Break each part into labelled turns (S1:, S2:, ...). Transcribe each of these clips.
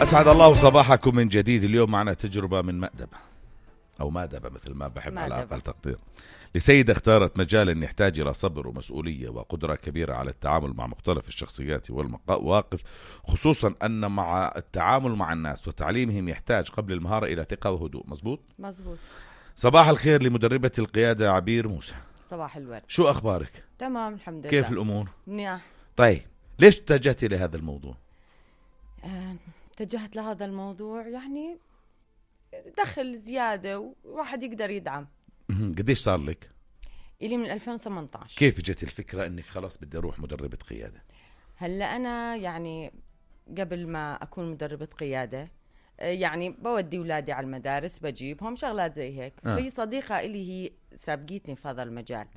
S1: أسعد الله صباحكم من جديد. اليوم معنا تجربة من مأدبة أو مادبة مثل ما بحب على أقل تقدير، لسيدة اختارت مجالا يحتاج إلى صبر ومسؤولية وقدرة كبيرة على التعامل مع مختلف الشخصيات والمواقف، خصوصا أن مع التعامل مع الناس وتعليمهم يحتاج قبل المهارة إلى ثقة وهدوء. مزبوط؟ صباح الخير لمدربة القيادة عبير موسى.
S2: صباح الورد.
S1: شو أخبارك؟
S2: تمام الحمد لله.
S1: كيف الأمور؟
S2: منيح.
S1: طيب ليش اتجهتي لهذا الموضوع؟
S2: اتجهت لهذا الموضوع يعني دخل زيادة وواحد يقدر يدعم.
S1: قديش صار لك؟
S2: إلي من 2018.
S1: كيف جت الفكرة انك خلاص بدي اروح مدربة قيادة؟
S2: هلا انا يعني قبل ما اكون مدربة قيادة يعني بودي أولادي على المدارس، بجيبهم شغلات زي هيك. في صديقة إلي هي سابقتني في هذا المجال،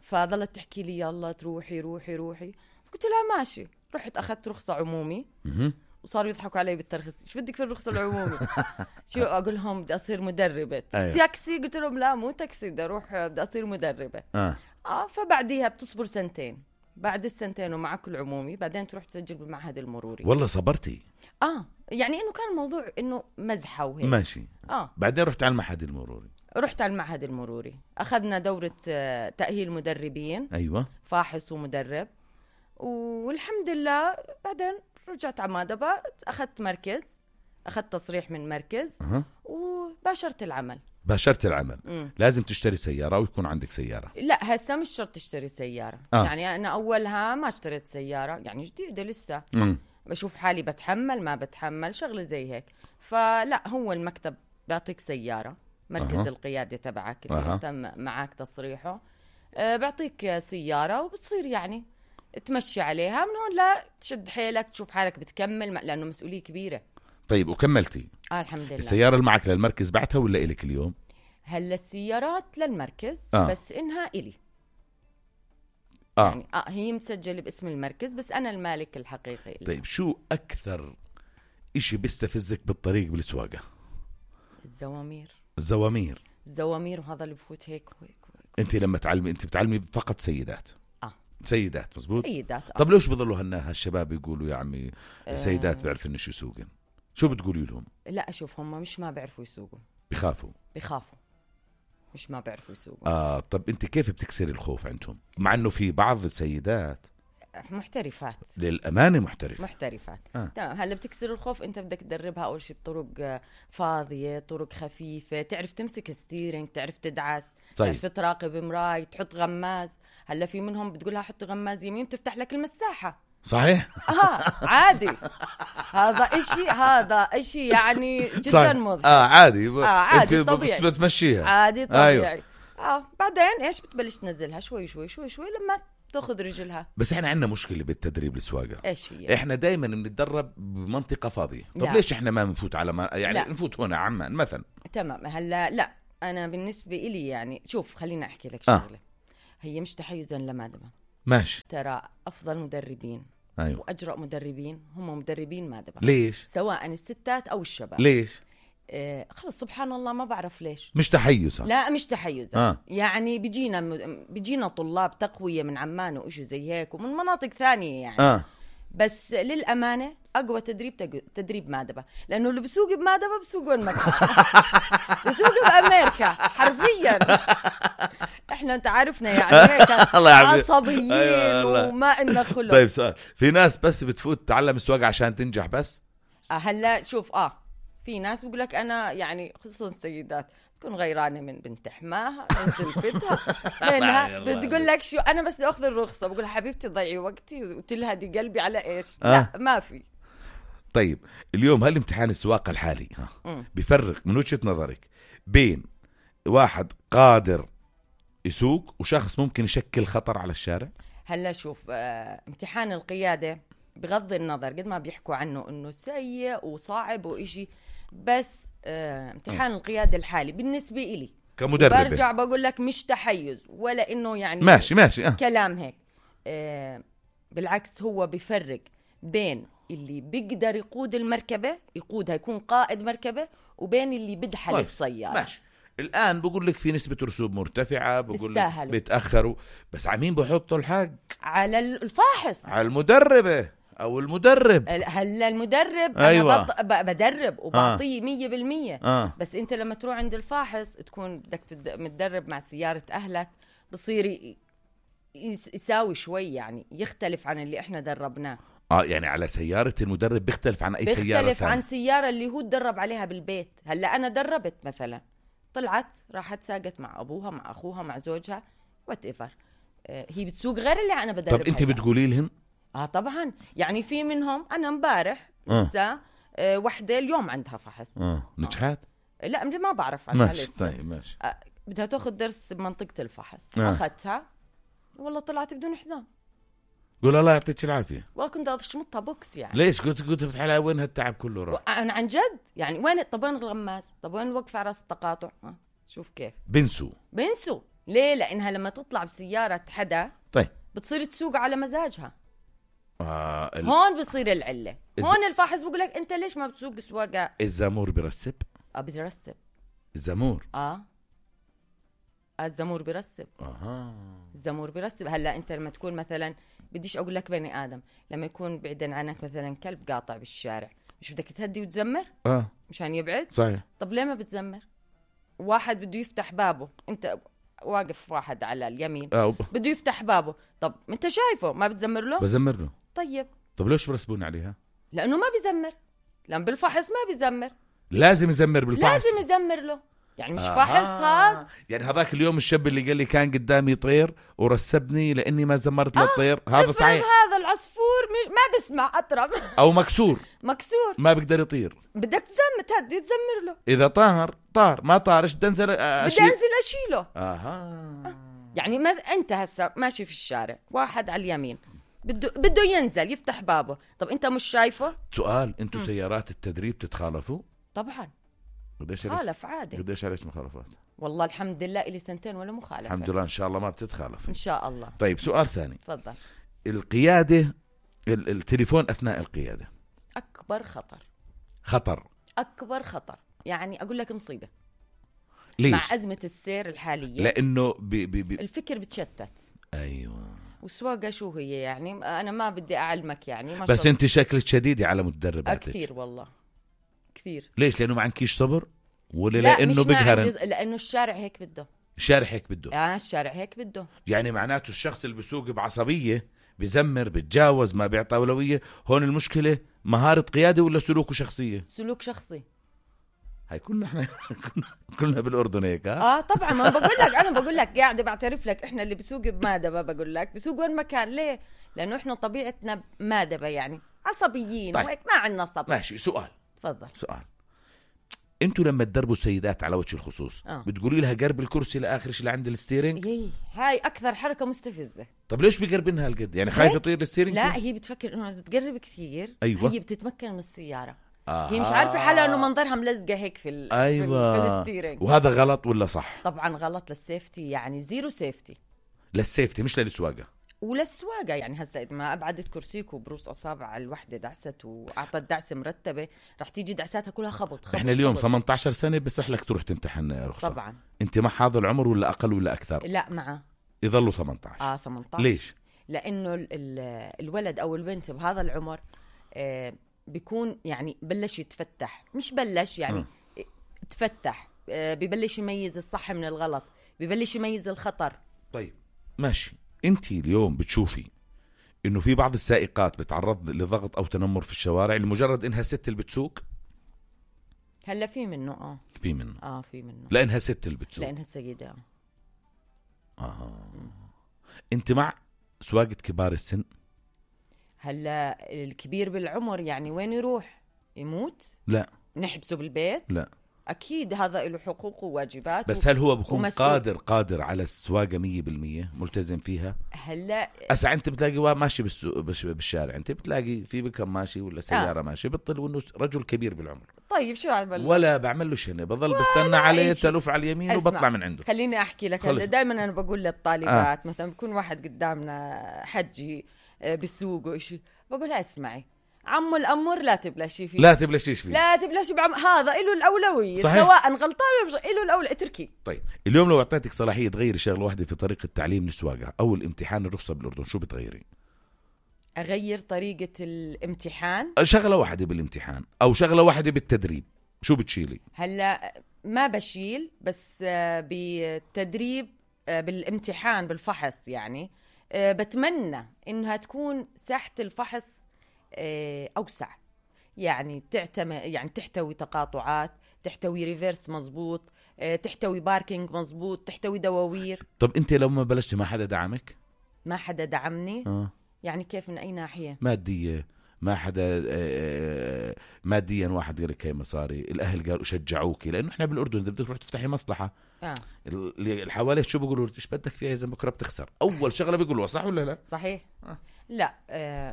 S2: فظلت تحكي لي يلا تروحي روحي روحي، قلت لها ماشي. رحت أخذت رخصة عمومي وصاروا يضحكوا علي بالترخيص. ايش بدك في الرخصة العمومي؟ شو اقول لهم؟ بدي اصير مدربة. تاكسي؟ قلت لهم لا مو تاكسي، بدي اروح بدي اصير مدربة. فبعديها بتصبر سنتين، بعد السنتين ومع كل عمومي بعدين تروح تسجل بالمعهد المروري.
S1: والله صبرتي؟
S2: يعني انه كان الموضوع انه مزحة وهيك.
S1: ماشي. بعدين رحت على المعهد المروري.
S2: رحت على المعهد المروري، اخذنا دورة تأهيل مدربين.
S1: ايوه،
S2: فاحص ومدرب، والحمد لله بعدين رجعت على مادبة، أخذت مركز، أخذت تصريح من مركز وباشرت العمل.
S1: باشرت العمل. لازم تشتري سيارة ويكون عندك سيارة؟
S2: لا هسه مش شرط تشتري سيارة. يعني أنا أولها ما اشتريت سيارة، يعني جديدة لسه. بشوف حالي بتحمل ما بتحمل شغلة زي هيك. فلا هو المكتب بيعطيك سيارة، مركز القيادة تبعك اللي تم معك تصريحه، بيعطيك سيارة وبتصير يعني تمشي عليها. من هون لا تشد حيلك تشوف حالك بتكمل، لأنه مسؤولية كبيرة.
S1: طيب وكملتي؟
S2: الحمد لله.
S1: السيارة اللي معك للمركز بعتها ولا إلك اليوم؟
S2: هلا السيارات للمركز بس إنها إلي. يعني هي مسجلة باسم المركز بس أنا المالك الحقيقي إلي.
S1: طيب شو أكثر إشي بيستفزك بالطريق بالسواقة؟ الزوامير وهذا اللي بفوت هيك وهيك. أنت لما تعلمي أنت بتعلمي فقط سيدات؟ سيدات مزبوط.
S2: سيدات.
S1: طب ليش بضلوا هالشباب يقولوا يا عمي سيدات بيعرف إنش يسوقن؟ شو بتقولي لهم؟
S2: لا أشوف هم مش ما بيعرفوا يسوقوا،
S1: بيخافوا مش
S2: ما بيعرفوا يسوقوا.
S1: طب أنت كيف بتكسري الخوف عندهم؟ مع إنه في بعض السيدات
S2: محترفات،
S1: للأمانة محترفات.
S2: تمام. هلا بتكسر الخوف، انت بدك تدربها اول شيء بطرق فاضية، طرق خفيفة، تعرف تمسك ستيرنج، تعرف تدعس، تعرف تراقب مراي، تحط غماز. هلا في منهم بتقولها حط غماز يمين تفتح لك المساحة.
S1: صحيح.
S2: عادي. هذا اشي يعني جدا مضحك.
S1: عادي
S2: طبيعي.
S1: بتمشيها
S2: عادي طبيعي. بعدين ايش بتبلش تنزلها شوي شوي شوي شوي لما تاخذ رجلها.
S1: بس احنا عندنا مشكلة بالتدريب السواقة.
S2: ايش هي؟
S1: احنا دايما بنتدرب بمنطقة فاضية. طب ليش احنا ما بنفوت على يعني نفوت هنا عمان مثلا؟ تمام.
S2: هلا لا انا بالنسبة إلي يعني شوف خلينا احكي لك شغلة. هي مش تحيزا لمادبة.
S1: ماشي.
S2: ترى افضل مدربين واجرأ مدربين هم مدربين مادبة.
S1: ليش؟
S2: سواء الستات او الشباب.
S1: ليش؟
S2: خلص سبحان الله ما بعرف ليش.
S1: مش تحيز.
S2: لا مش تحيز. يعني بيجينا طلاب تقوية من عمان وإشي زي هيك ومن مناطق ثانية يعني. بس للأمانة أقوى تدريب مادبة، لأنه اللي بسوق بمادبة بسوق وين مكان. بسوق بأمريكا حرفيا. احنا انت عارفنا يعني هيك عصبيين وما إلنا خلق.
S1: طيب سؤال، في ناس بس بتفوت تتعلم السواقة عشان تنجح بس؟
S2: هلا شوف في ناس بيقول لك انا يعني خصوصا السيدات تكون غيرانه من بنت حماها من سلفتها لانها بتقول لك شو انا بس اخذ الرخصه. بقول حبيبتي ضيعي وقتي وتلهدي قلبي على ايش؟ لا ما في.
S1: طيب اليوم هل امتحان السواقه الحالي بيفرق من وجهة نظرك بين واحد قادر يسوق وشخص ممكن يشكل خطر على الشارع؟
S2: هلا شوف امتحان القياده بغض النظر قد ما بيحكوا عنه انه سيء وصعب وإشي، بس امتحان القيادة الحالي بالنسبة إلي
S1: كمدربة
S2: برجع بقول لك مش تحيز ولا انه يعني
S1: ماشي
S2: كلام هيك. بالعكس هو بيفرق بين اللي بيقدر يقود المركبة يقودها يكون قائد مركبة وبين اللي بدحل السيارة.
S1: ماشي. الآن بقول لك في نسبة رسوب مرتفعة، بقول لك بيتأخروا، بس عمين بحطوا الحق
S2: على الفاحص،
S1: على المدربة، او المدرب.
S2: هلا المدرب
S1: أيوة.
S2: انا بدرب وبعطيه 100%. بس انت لما تروح عند الفاحص تكون بدك متدرب مع سيارة اهلك، بصير يساوي شوي، يعني يختلف عن اللي احنا دربناه.
S1: يعني على سيارة المدرب بيختلف عن اي سيارة
S2: بيختلف
S1: ثانية.
S2: عن سيارة اللي هو تدرب عليها بالبيت. هلا انا دربت مثلا، طلعت راحت ساقت مع ابوها مع اخوها مع زوجها whatever، هي بتسوق غير اللي انا بدربها.
S1: طب انت بتقولي لهم؟
S2: طبعا، يعني في منهم انا امبارح لسه وحده اليوم عندها فحص.
S1: نجحت؟
S2: لا ما بعرف عنها
S1: ماشي.
S2: لسه.
S1: طيب ماشي.
S2: بدها تاخذ درس بمنطقة الفحص. اخذتها والله طلعت بدون حزام.
S1: قول الله يعطيك العافية.
S2: والله كنت اشمطها بوكس يعني.
S1: ليش قلت بتحلى وين هالتعب كله راح؟
S2: انا عن جد يعني وين؟ طب وين الغماس؟ طب وين الوقف على راس التقاطع؟ شوف كيف بنسوا. ليه؟ لانها لما تطلع بسيارة حدا
S1: طيب
S2: بتصير تسوق على مزاجها. هون بصير العلة. هون الفاحص بقول لك انت ليش ما بتسوق سواقة؟
S1: الزامور برسب؟
S2: بيرسب
S1: الزامور.
S2: الزامور بيرسب. الزامور بيرسب. هلا انت لما تكون مثلا، بديش اقول لك بني ادم، لما يكون بعيدا عنك مثلا كلب قاطع بالشارع، مش بدك تهدي وتزمر مشان يبعد؟
S1: صحيح.
S2: طب ليه ما بتزمر؟ واحد بده يفتح بابه، انت واقف واحد على اليمين بده يفتح بابه، طب انت شايفه ما بتزمر له؟
S1: بزمر له.
S2: طب
S1: ليش برسبون عليها؟
S2: لانه ما بيزمر. لما بالفحص ما بيزمر.
S1: لازم يزمر بالفحص.
S2: لازم يزمر له، يعني مش فحص هذا.
S1: يعني هذاك اليوم الشاب اللي قال لي كان قدامي طير ورسبني لاني ما زمرت للطير، هذا صحيح؟
S2: هذا العصفور ما بسمع اطرب
S1: او مكسور
S2: ما
S1: بيقدر يطير،
S2: بدك تهدي تزمر له.
S1: اذا طار ما طارش بدي انزل
S2: اشيله. يعني انت هسه ماشي في الشارع، واحد على اليمين بده ينزل يفتح بابه، طب انت مش شايفه؟
S1: سؤال، انتوا سيارات التدريب تتخالفوا؟
S2: طبعا خالف عادي.
S1: قديش عليك مخالفات؟
S2: والله الحمد لله إلي 2 ولا مخالفة.
S1: الحمد لله. ان شاء الله ما بتتخالف
S2: ان شاء الله.
S1: طيب سؤال ثاني.
S2: تفضل.
S1: القيادة، التليفون اثناء القيادة
S2: اكبر خطر. اكبر خطر، يعني اقول لك مصيبة.
S1: ليش؟
S2: مع أزمة السير الحالية،
S1: لانه
S2: الفكر بتشتت.
S1: ايوه.
S2: والسواقة شو هي يعني؟ انا ما بدي اعلمك يعني، ما
S1: بس انت شكلك شديدة على مدرباتك.
S2: كثير والله كثير.
S1: ليش؟ لانه ما عندكيش صبر ولا لانه بقهرن؟
S2: لانه الشارع هيك بده.
S1: الشارع هيك بده. يعني معناته الشخص اللي بيسوق بعصبية، بزمر، بتجاوز، ما بيعطي أولوية. هون المشكلة مهارة قيادة ولا سلوكه شخصية؟
S2: سلوك شخصي.
S1: هاي كلنا بالأردن هيك.
S2: طبعا. ما بقول لك قاعدة بعترف لك، احنا اللي بسوق بمادبة، بقول لك بسوق وين مكان. ليه؟ لانه احنا طبيعتنا مادبة، يعني عصبيين.
S1: طيب.
S2: وهيك ما عندنا صبر.
S1: ماشي. سؤال.
S2: تفضل.
S1: سؤال، انتوا لما تدربوا السيدات على وجه الخصوص بتقولي لها قرب الكرسي لاخر شيء لعند الستيرنج؟
S2: هاي اكثر حركه مستفزه.
S1: طب ليش بيقربنها هالقد؟ يعني خايفه يطير الستيرنج؟
S2: لا، هي بتفكر انه بتقرب كثير.
S1: أيوة.
S2: هي بتتمكن من السياره. هي مش عارفه حالها انه منظرها ملزقه هيك في في الستيرنج.
S1: وهذا غلط ولا صح؟
S2: طبعا غلط للسيفتي، يعني زيرو سيفتي.
S1: للسيفتي مش للسواقه.
S2: وللسواقه يعني هسه ما ابعدت كرسيك وبروس اصابع الوحده دعست واعطت دعسه مرتبه، رح تيجي دعساتها كلها خبط.
S1: احنا اليوم 18 سنه بصح لك تروح تمتحن رخصه.
S2: طبعا.
S1: انت مع هذا العمر ولا اقل ولا اكثر؟
S2: لا معه.
S1: يظلوا 18.
S2: 18.
S1: ليش؟
S2: لانه الولد او البنت بهذا العمر بيكون يعني بلش يتفتح، مش بلش يعني تفتح، ببلش يميز الصح من الغلط، ببلش يميز الخطر.
S1: طيب ماشي. انت اليوم بتشوفي انه في بعض السائقات بتعرض لضغط او تنمر في الشوارع لمجرد انها ست اللي بتسوق؟
S2: هلا في منه.
S1: في منه.
S2: في منه.
S1: لانها ست اللي بتسوق.
S2: لانها السيدة.
S1: انت مع سواقة كبار السن؟
S2: هلا الكبير بالعمر يعني وين يروح؟ يموت؟
S1: لا.
S2: نحبسه بالبيت؟
S1: لا.
S2: أكيد هذا له حقوق وواجبات.
S1: بس هل هو بكون قادر على السواقة 100% ملتزم فيها؟
S2: هلا
S1: أسا أنت بتلاقي ماشي بالشارع، أنت بتلاقي في بكم ماشي ولا سيارة ماشي، بتطل وإنه رجل كبير بالعمر.
S2: طيب شو أعمل؟
S1: ولا بعمل له شيء، بضل بستنى عليه تلوف على اليمين وبطلع من عنده.
S2: خليني أحكي لك. دائما أنا بقول للطالبات مثلا بكون واحد قدامنا حجي بسوق وإشي، بقولها اسمعي عمو الأمور لا تبلشي فيه،
S1: لا تبلشيش فيه،
S2: لا تبلشي هذا إله الأولوية.
S1: صحيح.
S2: سواء غلطان ولا مش إله الأولوية، اتركي.
S1: طيب اليوم لو أعطيتك صلاحية تغيري شغلة واحدة في طريقة تعليم السواقة أو الامتحان الرخصة بالأردن، شو بتغيري؟
S2: أغير طريقة الامتحان.
S1: شغلة واحدة بالامتحان أو شغلة واحدة بالتدريب، شو بتشيلي؟
S2: هلا ما بشيل، بس بالتدريب بالامتحان بالفحص يعني بتمنى إنها تكون ساحة الفحص أوسع، يعني يعني تحتوي تقاطعات، تحتوي ريفيرس مزبوط، تحتوي باركينج مزبوط، تحتوي دواوير.
S1: طب أنت لو ما بلشت ما حدا دعمك؟
S2: ما حدا دعمني؟ يعني كيف؟ من أي ناحية؟
S1: مادية؟ ما حدا ماديا واحد قال لك هي مصاري، الأهل قالوا شجعوكي، لأنه إحنا بالأردن إذا بدك تروح تفتحي مصلحة اللي حواليك شو بيقولوا؟ إيش بدك فيها إذا بكرة بتخسر؟ أول شغلة بيقولوا، صح ولا لا؟
S2: صحيح. لا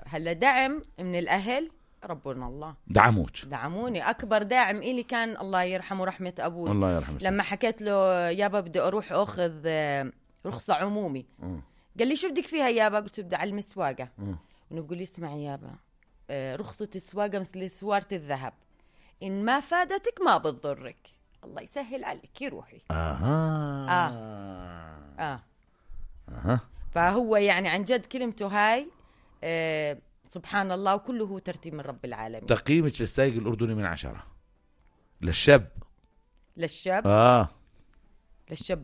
S2: هلا دعم من الأهل ربنا الله دعموني. أكبر داعم إلي كان الله يرحمه رحمة أبوي،
S1: الله يرحمه،
S2: لما حكيت له يابا بدي أروح أخذ رخصة عمومي، قال لي شو بدك فيها يابا؟ قلت بدي أعلم السواقة. ونقول لي اسمعي يابا، رخصة السواقة مثل سوارة الذهب، إن ما فادتك ما بتضرك، الله يسهل عليك روحي. فهو يعني عن جد كلمته هاي سبحان الله، وكله هو ترتيب من رب العالمين.
S1: تقييمك للسائق الأردني من 10 للشاب
S2: للشاب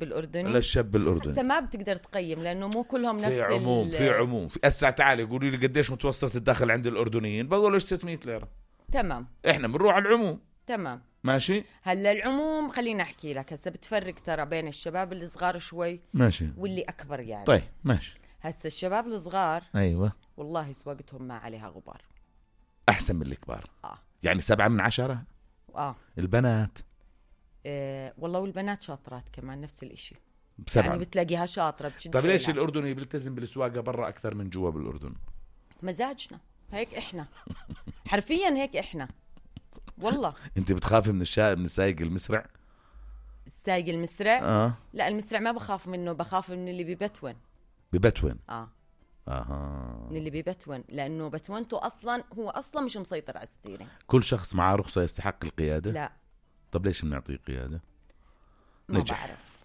S2: الأردني؟
S1: هسه
S2: ما بتقدر تقيم لأنه مو كلهم نفس
S1: في عموم. في هسه تعالي قولي لي قديش متوسط الدخل عند الأردنيين، بقول 600 ليرة.
S2: تمام،
S1: إحنا بنروح على العموم.
S2: تمام
S1: ماشي.
S2: هلا العموم خليني أحكي لك، هسه بتفرق ترى بين الشباب اللي صغار شوي
S1: ماشي واللي
S2: أكبر يعني.
S1: طيب ماشي.
S2: هسه الشباب الصغار
S1: أيوة
S2: والله سواقتهم ما عليها غبار،
S1: أحسن من الكبار. يعني 7 من 10. البنات
S2: والله والبنات شاطرات كمان نفس الاشي،
S1: يعني
S2: بتلاقيها شاطرة.
S1: طيب ليش الأردني بيلتزم بالسواقة برا أكثر من جوا بالأردن؟
S2: مزاجنا هيك، إحنا حرفيا هيك إحنا والله.
S1: أنت بتخافي من السائق المسرع؟
S2: السائق المسرع؟ لا المسرع ما بخاف منه، بخاف من اللي ببتون. من اللي ببتون، لأنه بتونته أصلا هو أصلا مش مسيطر على السيرة.
S1: كل شخص معاه رخصة يستحق القيادة؟
S2: لا.
S1: طب ليش بنعطيه قيادة؟
S2: ما بعرف.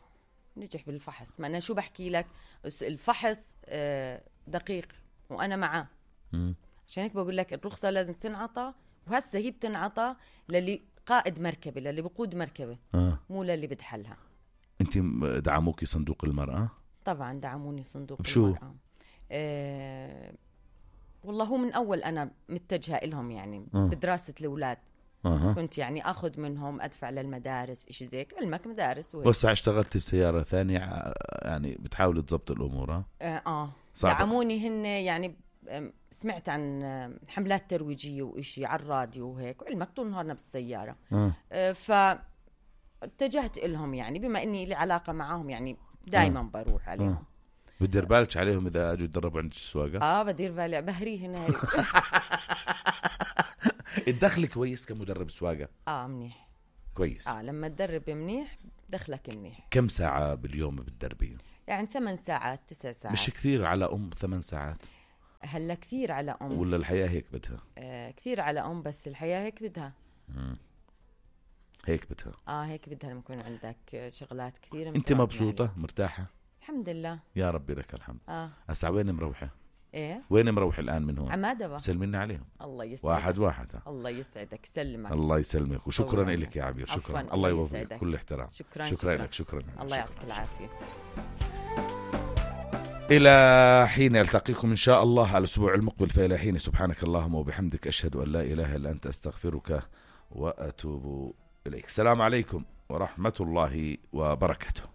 S2: نجح بالفحص. ما أنا شو بحكي لك، الفحص دقيق وأنا معاه، عشان هيك بقول لك الرخصة لازم تنعطى، وهسه هي بتنعطى للي قائد مركبة، للي بقود مركبة، مو للي بدحلها.
S1: أنت دعموكي صندوق المرأة؟
S2: طبعا دعموني صندوق
S1: بشو؟
S2: المرأة. والله هو من أول أنا متجهة إلهم يعني بدراسة الأولاد. كنت يعني أخذ منهم أدفع للمدارس إشي زيك، علمك مدارس وهيك.
S1: بس اشتغلت بسيارة ثانية يعني بتحاول تضبط الأمور.
S2: دعموني هن يعني. سمعت عن حملات ترويجية وإشي على الراديو وهيك، وعلمك طول نهارنا بالسيارة. فاتجهت إلهم يعني، بما إني لي علاقة معهم يعني دايما بروح عليهم.
S1: بدير بالك عليهم إذا أجوا يتدربوا عند السواقة؟
S2: بدير بالي، بهريهن هيك.
S1: الدخل كويس كمدرب سواقة؟
S2: منيح
S1: كويس.
S2: لما تدرب منيح دخلك منيح.
S1: كم ساعة باليوم بتدربي؟
S2: يعني 8 ساعات 9 ساعات.
S1: مش كثير على 8 ساعات؟
S2: هلا كثير على
S1: ولا الحياة هيك بدها؟
S2: كثير على بس الحياة هيك بدها.
S1: هيك بدها.
S2: هيك بدها لما يكون عندك شغلات كثيرة.
S1: انت مبسوطة يعني. مرتاحة؟
S2: الحمد لله
S1: يا ربي لك الحمد. هسا وين مروحة؟
S2: ايه
S1: وين مروح الآن من هون؟
S2: عمادة.
S1: سلمينا عليهم.
S2: الله يسعدك.
S1: واحد.
S2: الله يسعدك، سلمك.
S1: الله يسلمك، وشكرا لك يا عبير. شكرا. الله يوفقك كل احترام.
S2: شكرا
S1: لك. شكرا.
S2: الله يعطيك العافية.
S1: إلى حين ألتقيكم إن شاء الله الأسبوع المقبل، فإلى حين سبحانك اللهم وبحمدك أشهد أن لا إله إلا أنت أستغفرك وأتوب إليك. السلام عليكم ورحمة الله وبركاته.